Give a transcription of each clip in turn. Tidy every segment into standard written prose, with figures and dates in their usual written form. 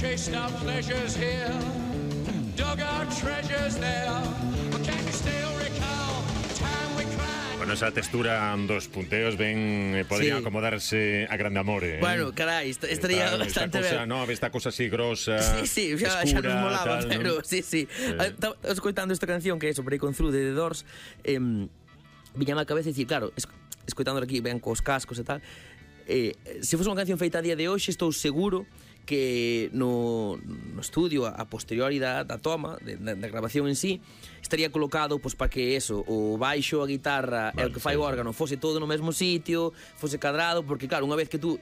chased our pleasures here, dug our treasures there. But can you still recall the time we cried? Bueno, esa textura dos punteos podrían acomodarse a Grande Amore. Bueno, carai, estaría bastante ben. No, esta cosa así grosa, sí, xa escura, nos molaba, tal, pero ¿no? sí. Estaba escoitando esta canción que é sobre Break On Through de The Doors, viñame a cabeza dicir, claro, escoitándola aquí, ben cos cascos e tal, se fose unha canción feita a día de hoxe, estou seguro que no estudio a posteriori da toma, da grabación en sí, estaría colocado pois para que eso, o baixo, a guitarra e o que fai o órgano fose todo no mesmo sitio, fose cadrado, porque claro, unha vez que tú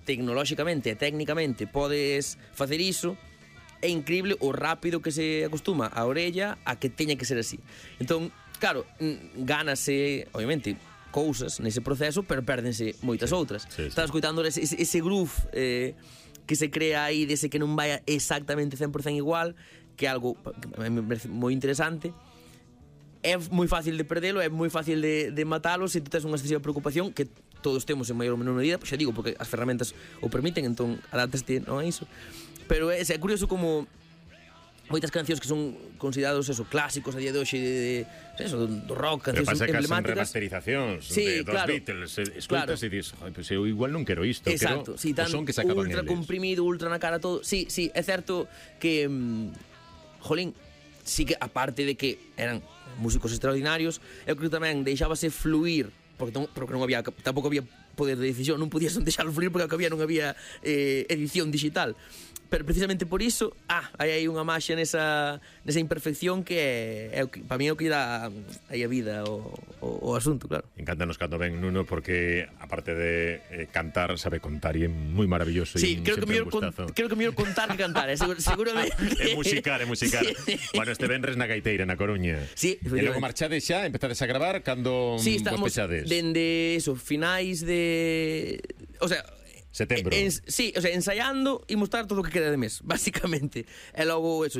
tecnolóxicamente e técnicamente podes facer iso, é increíble o rápido que se acostuma a orella a que teña que ser así. Entón, claro, gánase, obviamente, cousas nese proceso, pero pérdense moitas outras. Estás escoitando ese groove que se crea aí, dese que non vai exactamente 100% igual, que é algo que me parece moi interesante. É moi fácil de perdelo, é moi fácil de matalo se tu tens unha excesiva preocupación, que todos temos en maior ou menor medida, xa digo, porque as ferramentas o permiten, entón adáptaste non a iso. Pero é curioso como moitas cancións que son considerados eso, clásicos a día de hoxe do rock, cancións emblemáticas. Pero pasa que son remasterizacións de dos Beatles, escutas e dis, pues eu igual non quero isto, exacto, quero sí, o son que sacaban ultra eles. comprimido, ultra na cara todo. Sí, é certo que jolín, sí que aparte de que eran músicos extraordinarios, eu creo que tamén deixábase fluir, porque non había, tampouco había poder de decisión, non podías deixalo fluir porque non había edición digital. Pero precisamente por iso, hai unha maxia nesa imperfección que é para mí é o que dá aí a vida o asunto, claro. Encántanos cando ven Nuno, porque aparte de cantar, sabe contar e é moi maravilloso. Sí, creo que mellor contar que cantar, seguramente. É musicar. Sí. Bueno, este venres na Gaiteira, na Coruña. Sí, e logo marchades xa, empezades a gravar cando sí, estamos pechades? Dende eso, finais de... O sea... Setembro. Sí, o sea, ensaiando e mostrar todo o que queda de mes, básicamente. E logo, eso,